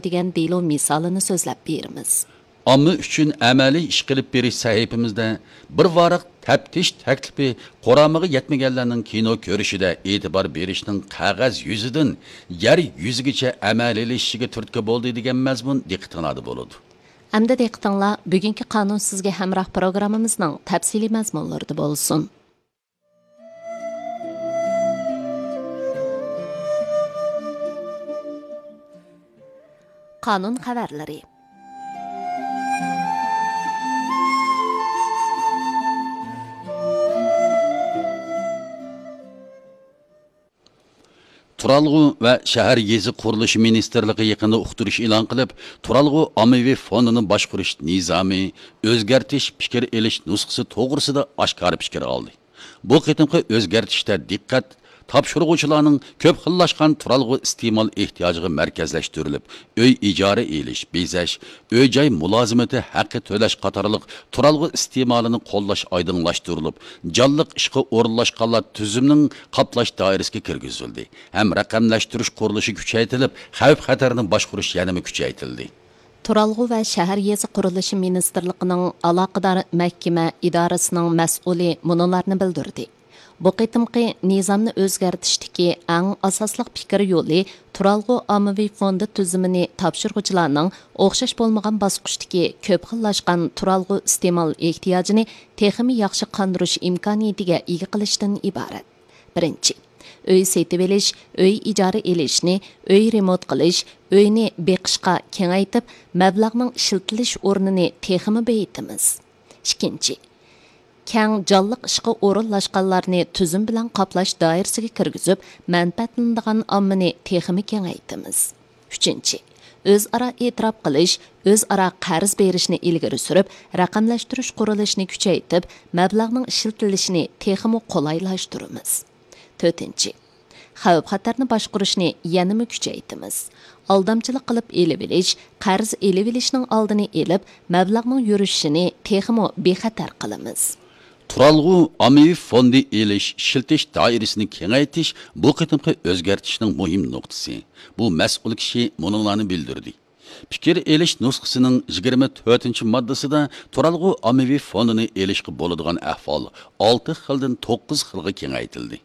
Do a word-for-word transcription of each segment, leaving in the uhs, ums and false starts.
دېگەن دېلو مىسالىنى سۆزلەپ بېرىمىز. ئامما ئۈچۈن ئەمەلىي ئىش قىلىپ بېرىش سەھىپىمىزدە بىر ۋاراق تەپتىش تەكلىپى قۇرامىغا يەتمىگەنلەرنىڭ كىنو كۆرۈشىدە ئېتىبار بېرىشنىڭ قەغەز يۈزىدىن يەر يۈزىگىچە ئەمەلىيلىشىشىگە تۈرتكە بولدى دېگەن مەزمۇن دىققىتىڭلاردا بولىدۇ. ئەمدى دىققىتىڭلار بۈگۈنكى قانۇن سىزگە ھەمراھ پروگراممىمىزنىڭ تەپسىلىي مەزمۇنلىرىدا بولسۇن. قانۇن خەۋەرلىرى. تۇرالغۇ ۋە شەھەر يېزا قۇرۇلۇشى مىنىستىرلىقى يېقىندا ئۇقتۇرۇش ئېلان قىلىپ، تۇرالغۇ ئاممىۋى فوندىنى باشقۇرۇش نىزامى ئۆزگەرتىش پىكىر ئېلىش نۇسخىسى توغرىسىدا ئاشكارا پىكىر ئالدى. بۇ قېتىمقى ئۆزگەرتىشتە دىققەت تاپشۇرغۇچىلارنىڭ كۆپ خىللاشقان تۇرالغۇ ئىستېمال ئېھتىياجىغا مەركەزلەشتۈرۈلۈپ، ئۆي ئىجارە ئېلىش، بېزەش، ئۆي-جاي مۇلازىمىتى ھەققى تۆلەش قاتارلىق تۇرالغۇ ئىستېمالىنى قوللاش ئايدىڭلاشتۇرۇلۇپ، جانلىق ئىشقا ئورۇنلاشقانلار تۈزۈمىنىڭ قاپلاش دائىرىسىگە كىرگۈزۈلدى ھەم رەقەملەشتۈرۈش قۇرۇلۇشى كۈچەيتىلىپ، خەۋپ-خەتەرنى باشقۇرۇش يەنىمۇ كۈچەيتىلدى. تۇرالغۇ ۋە شەھەر يېزا قۇرۇلۇشى مىنىستىرلىقىنىڭ ئالاقىدار مەھكىمە ئىدارىسىنىڭ مەسئۇلى مۇنۇلارنى بىلدۈردى. بۇ قېتىمقى نىزامنى ئۆزگەرتىشتىكى ئەڭ ئاساسلىق پىكىر يولى تۇرالغۇ ئاممىۋى فوندى تۈزۈمىنى تاپشۇرغۇچىلارنىڭ ئوخشاش بولمىغان باسقۇچتىكى كۆپ خىللاشقان تۇرالغۇ ئىستېمال ئېھتىياجىنى تېخىمۇ ياخشى قاندۇرۇش ئىمكانىيىتىگە ئىگە قىلىشتىن ئىبارەت. بىرىنچى، ئۆي سېتىۋېلىش، ئۆي ئىجارە ئېلىشنى، ئۆي رېمونت قىلىش، ئۆينى بېقىشقا كېڭەيتىپ، مەبلەغنىڭ ئىشلىتىلىش ئورنىنى تېخىمۇ بېيىتىمىز. ئىككىنچى، كەڭ جانلىق ئىشقا ئورۇنلاشقانلارنى تۈزۈم بىلەن قاپلاش دائىرىسىگە كىرگۈزۈپ، مەنپەئەتلىنىدىغان ئاممىنى تېخىمۇ كېڭەيتىمىز. ئۈچىنچى، ئۆزئارا ئېتىراپ قىلىش، ئۆزئارا قەرز بېرىشنى ئىلگىرى سۈرۈپ، رەقەملەشتۈرۈش قۇرۇلۇشىنى كۈچەيتىپ، مەبلەغنىڭ ئىشلىتىلىشىنى تېخىمۇ قولايلاشتۇرىمىز. تۆتىنچى، خەۋپ-خەتەرنى باشقۇرۇشنى يەنىمۇ كۈچەيتىمىز. ئالدامچىلىق قىلىپ ئېلىۋېلىش، قەرز ئېلىۋېلىشنىڭ ئالدىنى ئېلىپ، مەبلەغنىڭ يۈرۈشۈشىنى تېخىمۇ بىخەتەر قىلىمىز. تۇرالغۇ ئاممىۋى فوندى ئېلىش، ئىشلىتىش دائىرىسىنى كېڭەيتىش بۇ قېتىمقى ئۆزگەرتىشنىڭ مۇھىم نۇقتىسى. بۇ مەسئۇل كىشى مۇنۇلارنى بىلدۈردى. پىكىر ئېلىش نۇسخىسىنىڭ يىگىرمە تۆتىنچى ماددىسىدا تۇرالغۇ ئاممىۋى فوندىنى ئېلىشقا بولىدىغان ئەھۋال ئالتە خىلدىن توققۇز خىلغا كېڭەيتىلدى.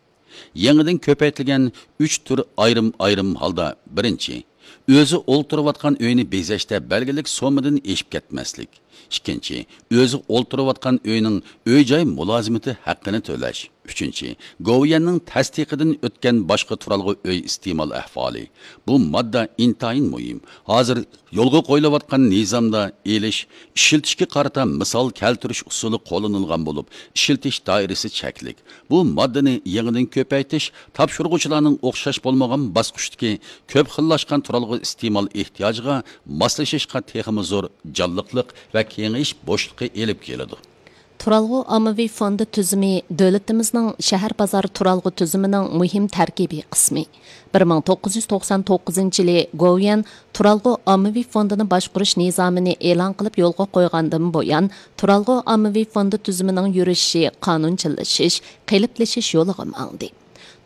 يېڭىدىن كۆپەيتىلگەن ئۈچ تۈر ئايرىم-ئايرىم ھالدا، بىرىنچى، ئۆزى ئولتۇرۇۋاتقان ئۆينى بېزەشتە بەلگىلىك سوممىدىن ئېشىپ كەتمەسلىك. ئىككىنچى، ئۆزى ئولتۇرۇۋاتقان ئۆينىڭ ئۆي-جاي مۇلازىمىتى ھەققىنى تۆلەش. ئۈچىنچى، گوۋۇيۈەننىڭ تەستىقىدىن ئۆتكەن باشقا تۇرالغۇ ئۆي ئىستېمال ئەھۋالى. بۇ ماددا ئىنتايىن مۇھىم. ھازىر يولغا قويۇلۇۋاتقان نىزامدا ئېلىش، ئىشلىتىشكە قارىتا مىسال كەلتۈرۈش ئۇسۇلى قوللىنىلغان بولۇپ، ئىشلىتىش دائىرىسى چەكلىك. بۇ ماددىنى يېڭىدىن كۆپەيتىش تاپشۇرغۇچىلارنىڭ ئوخشاش بولمىغان باسقۇچتىكى كۆپ خىللاشقان تۇرالغۇ ئىستېمال ئېھتىياجىغا ماسلىشىشقا تېخىمۇ زور جانلىقلىق ۋە كېڭىيىش بوشلۇقى ئېلىپ كېلىدۇ. تۇرالغۇ ئاممىۋى فوندى تۈزۈمى دۆلىتىمىزنىڭ شەھەر بازار تۇرالغۇ تۈزۈمىنىڭ مۇھىم تەركىبىي قىسمى. بىر مىڭ توققۇز يۈز توقسان توققۇزىنچى يىلى گوۋۇيۈەن تۇرالغۇ ئاممىۋى فوندىنى باشقۇرۇش نىزامىنى ئېلان قىلىپ يولغا قويغاندىن بۇيان، تۇرالغۇ ئاممىۋى فوندى تۈزۈمىنىڭ يۈرۈشۈشى قانۇنچىللىشىش، قېلىپلىشىش يولىغا ماڭدى.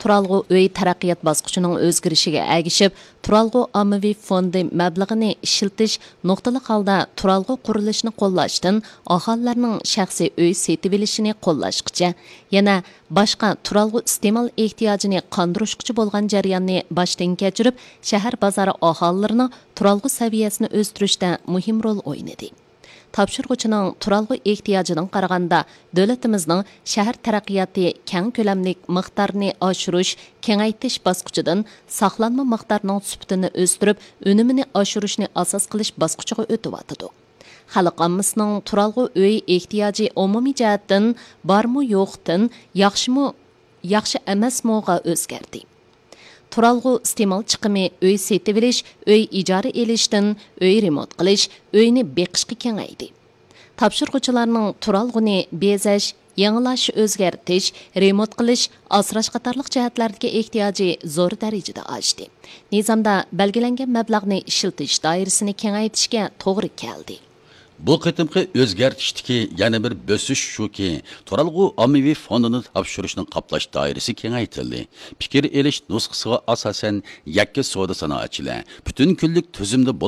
تۇرالغۇ ئۆي تەرەققىيات باسقۇچىنىڭ ئۆزگىرىشىگە ئەگىشىپ، تۇرالغۇ ئاممىۋى فوندى مەبلىغىنى ئىشلىتىش نۇقتىلىق ھالدا تۇرالغۇ قۇرۇلۇشىنى قوللاشتىن ئاھالىلەرنىڭ شەخسىي ئۆي سېتىۋېلىشىنى قوللاشقىچە، يەنە باشقا تۇرالغۇ ئىستېمال ئېھتىياجىنى قاندۇرۇشقىچە بولغان جەرياننى باشتىن كەچۈرۈپ، شەھەر بازار ئاھالىلىرىنىڭ تۇرالغۇ سەۋىيەسىنى ئۆستۈرۈشتە مۇھىم رول ئوينىدى. تاپشۇرغۇچىنىڭ تۇرالغۇ ئېھتىياجىدىن قارىغاندا، دۆلىتىمىزنىڭ شەھەر تەرەققىياتى كەڭ كۆلەملىك مىقدارنى ئاشۇرۇش، كېڭەيتىش باسقۇچىدىن ساقلانما مىقدارنىڭ سۈپىتىنى ئۆستۈرۈپ، ئۈنۈمىنى ئاشۇرۇشنى ئاساس قىلىش باسقۇچىغا ئۆتۈۋاتىدۇ. خەلق ئاممىسىنىڭ تۇرالغۇ ئۆي ئېھتىياجى ئومۇمىي جەھەتتىن بارمۇ يوقتىن ياخشىمۇ، ياخشى ئەمەسمۇغا ئۆزگەردى. تۇرالغۇ ئىستېمال چىقىمى ئۆي سېتىۋېلىش، ئۆي ئىجارە ئېلىشتىن ئۆي رېمونت قىلىش، ئۆينى بېقىشقا كېڭەيدى. تاپشۇرغۇچىلارنىڭ تۇرالغۇنى بېزەش، يېڭىلاش، ئۆزگەرتىش، رېمونت قىلىش، ئاسراش قاتارلىق جەھەتلەردىكى ئېھتىياجى زور دەرىجىدە ئاشتى. نىزامدا بەلگىلەنگەن مەبلەغنى ئىشلىتىش دائىرىسىنى كېڭەيتىشكە توغرا كەلدى. بۇ قېتىمقى ئۆزگەرتىشتىكى يەنە بىر بۆسۈش شۇكى، تۇرالغۇ ئاممىۋى فوندىنى تاپشۇرۇشنىڭ قاپلاش دائىرىسى كېڭەيتىلدى. پىكىر ئېلىش نۇسخىسىغا ئاساسەن، يەككە سودا سانائەتچىلەر پۈتۈن كۈنلۈك تۈزۈمدە بولۇپ،